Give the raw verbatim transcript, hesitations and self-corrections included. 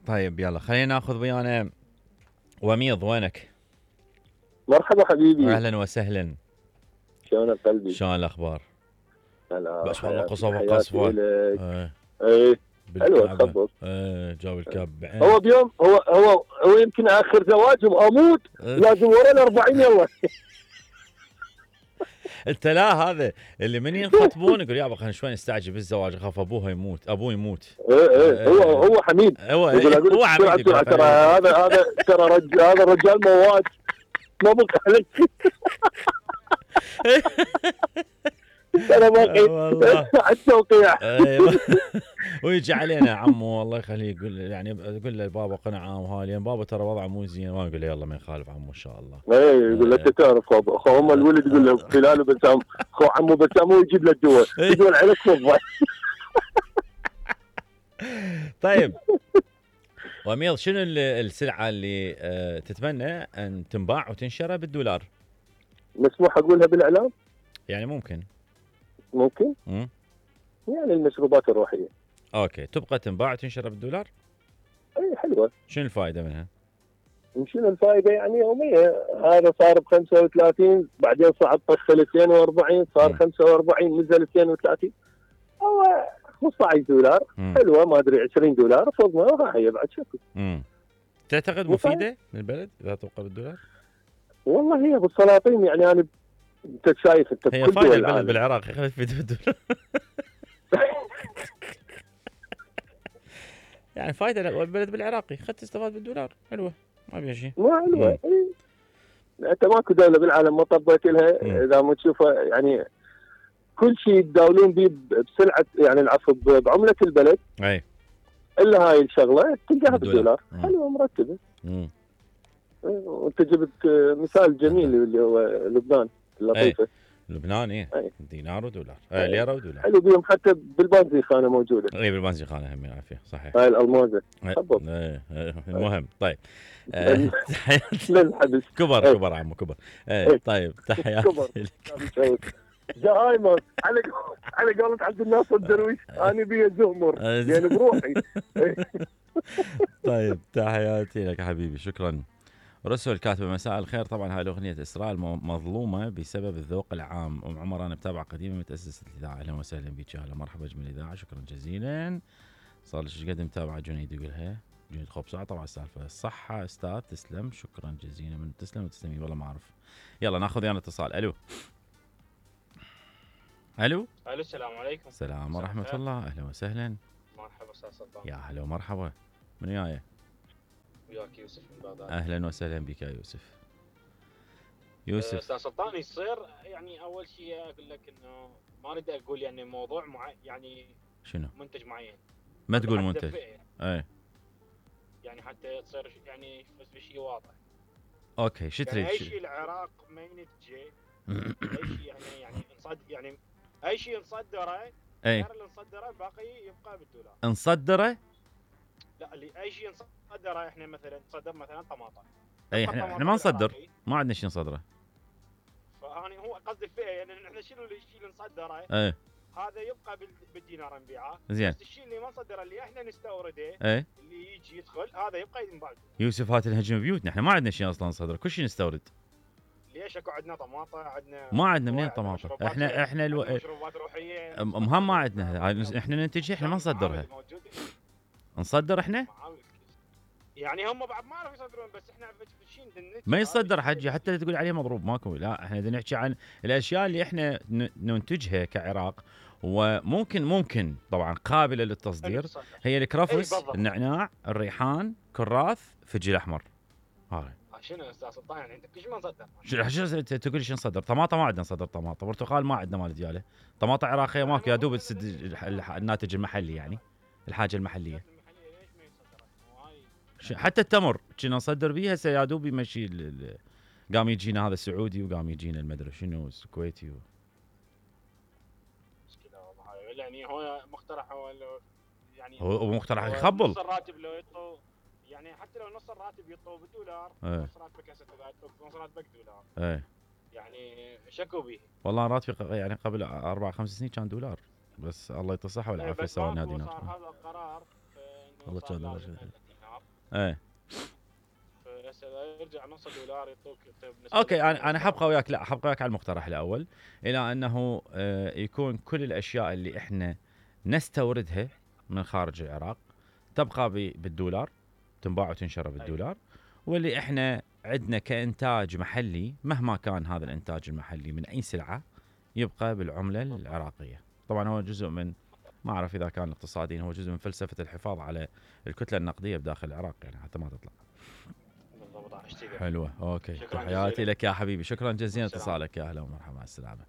طيب يلا خلينا ناخذ ويانا وميض. وينك؟ مرحبا حبيبي. اهلا وسهلا. شلونك قلبي؟ شلون الاخبار؟ هلا بس والله حياتي قصوى حياتي وقصوى. إلك. ايه ايه حلوة بالكعبة. تخبط. ايه جاب الكعب بعين. هو بيوم هو هو هو يمكن اخر زواجهم اموت إيه. لازم ورا الأربعين يلا. انت لا هذا اللي من ينخطبون يقول يابا خلينا شوي نستعجل بالزواج اخاف ابوها يموت ابوه يموت. ايه ايه هو هو حميد. هو يقول اقول هو لك حميد بسرعه يقول بسرعه ترى هذا هذا ترى رجال هذا الرجال مواد ما بقى عليك. انا باقي والله على التوقيع. ايوه. ويجي علينا عمو الله يخليه يقول يعني يقول له بابا قنعه وهالي بابا ترى وضعه مو زين ما نقول له يلا ما يخالف عمو ان شاء الله. ايه يقول لك تعرف اخو ام الولد يقول له فلان وبسام اخو عمو بسام ويجيب له الدواء يقول عليك فضه. طيب وميض شنو السلعه اللي أه تتمنى ان تنباع وتنشرى بالدولار؟ مسموح اقولها بالاعلام؟ يعني ممكن ممكن؟ امم يعني المشروبات الروحيه. اوكي تبقى تنباع وتنشرى بالدولار؟ اي حلوه. شنو الفائده منها؟ شنو الفائده يعني يوميه. هذا صار ب خمسة وثلاثين بعدين صعد طخ اثنين وأربعين صار خمسة وأربعين نزل اثنين وثلاثين هو خمسة عشر دولار. مم. حلوه ما ادري عشرين دولار فوق هي بعد شكل. امم تعتقد مفيده للبلد اذا تبقى بالدولار؟ والله هي بالسلاطين يعني انا انت شايف انت هي فائده البلد بالعراق خلت في بالدولار. يعني فائده البلد بالعراقي خدت تستفاد بالدولار حلوه ما فيها شيء. ما حلوه إيه. انت ماكو دوله بالعالم ما طبيت لها اذا ما تشوفها يعني كل شيء يتداولون به بسلعه يعني العفو بعمله البلد. اي الا هاي الشغله تلقاها بالدولار حلوه مرتبه. امم وانت جبت مثال جميل اللي هو لبنان اللطيفه. لبنان ايه أي. دينار ودولار آه ليره ودولار حلو بيهم حتى بالبنزيخانه موجوده. اي بالبنزيخانه هم عافيه صحيح. هاي الالمازه ايه المهم طيب للحبس كبر ايه. كبر عمو كبر ايه طيب تحياتي لك. زهايمر على على قولة عبد الناصر الدرويش انا بي زهمر يعني بروحي. طيب تحياتي لك حبيبي شكرا. رسل كاتب مساء الخير طبعا هاي الاغنيه اسراء مظلومه بسبب الذوق العام. ام عمر انا متابعه قديمه متاسسه الاذاعه اهلا وسهلا بك. اهلا مرحبا جميل الاذاعه شكرا جزيلا. صار لي ايش قد متابعه جنيد يقولها جنيد خبصه طبعا السالفه الصحه استاذ تسلم شكرا جزيلا من تسلم وتسلمي والله ما اعرف. يلا ناخذ يانا اتصال. الو الو الو السلام عليكم. السلام ورحمه الله اهلا وسهلا. مرحبا استاذ سلطان. يا هلا ومرحبا. من وياي؟ وياك يوسف من بغداد. اهلا وسهلا بك يا يوسف. يوسف استاذ سلطان يصير يعني اول شيء اقول لك انه ما اريد اقول يعني موضوع معين يعني شنو منتج معين ما تقول منتج اي يعني حتى تصير يعني في شيء واضح. اوكي شو تريد؟ يعني اي شيء العراق ما ينتجه اي شيء يعني يعني نصدر يعني اي شيء نصدره غير اللي نصدره باقي يبقى بالدولار. نصدره؟ لا اللي اي شيء نصدره احنا مثلا نصدر مثلا طماطم. اي احنا, احنا ما نصدر ما عندنا شيء نصدره. فاني هو قصدي فيه يعني احنا شنو الشيء اللي نصدره؟ ايه هذا يبقى بالدينار نبيعه. زين. بس الشيء اللي ما نصدره اللي احنا نستورده ايه اللي يجي يدخل هذا يبقى ينباع. يوسف هات الهجم بيوتنا احنا ما عندنا شيء اصلا نصدره كل شيء نستورد. ليش اكو عندنا طماطم عندنا ما عندنا منين طماطم احنا احنا الو... مشروبات روحيه مهم ما عندنا احنا ننتجها احنا ما نصدرها. نصدر احنا يعني هم بعد ما عرفوا يصدرون بس احنا شيء ما يصدر حجي حتى تقول عليه مضروب ماكو. لا احنا بدنا نحكي عن الاشياء اللي احنا ننتجها كعراق وممكن ممكن طبعا قابله للتصدير. هي الكرفس النعناع الريحان كراث فجل احمر. هاي شنو استاذ سلطان يعني انت كل شيء ما نصدر؟ شو تقول شو نصدر؟ طماطم ما عندنا نصدر طماطم. برتقال ما عندنا مال دياله. طماطم عراقيه ماكو يا دوب تسد الناتج المحلي يعني الحاجه المحليه. حتى التمر كنا نصدر بيه هسه يا دوب يمشي قام يجينا هذا السعودي وقام يجينا المدري شنو الكويتي و... يعني هو مقترح هو يعني هو مقترح يخبل نص الراتب لو يطلع يعني حتى لو نص الراتب يطلع بالدولار ايه. نص راتبك هسه نص راتبك دولار ايه يعني شكو به. والله راتبي يعني قبل اربع خمس سنين كان دولار بس الله يتصحى والعافيه سوى لنا دينار. صار هذا القرار والله صار كان لازم درجة. ألف دينار. ايه فهسه اذا يرجع نص دولار يعطوك انت بالنسبة اوكي، لك انا انا مستوى. حبقى وياك، لا حبقى وياك على المقترح الاول، الى انه آه، يكون كل الاشياء اللي احنا نستوردها من خارج العراق تبقى ب- بالدولار، تنباع وتنشر بالدولار، واللي احنا عندنا كانتاج محلي مهما كان هذا الانتاج المحلي من اي سلعه يبقى بالعمله العراقيه. طبعا هو جزء من، ما اعرف اذا كان اقتصاديا، هو جزء من فلسفه الحفاظ على الكتله النقديه بداخل العراق يعني حتى ما تطلع. بالضبط راح اشتري. حلوه، اوكي، شكراً تحياتي جزيلاً. لك يا حبيبي، شكرا جزيلا والسلام. اتصالك، يا اهلا ومرحبا، مع السلامه.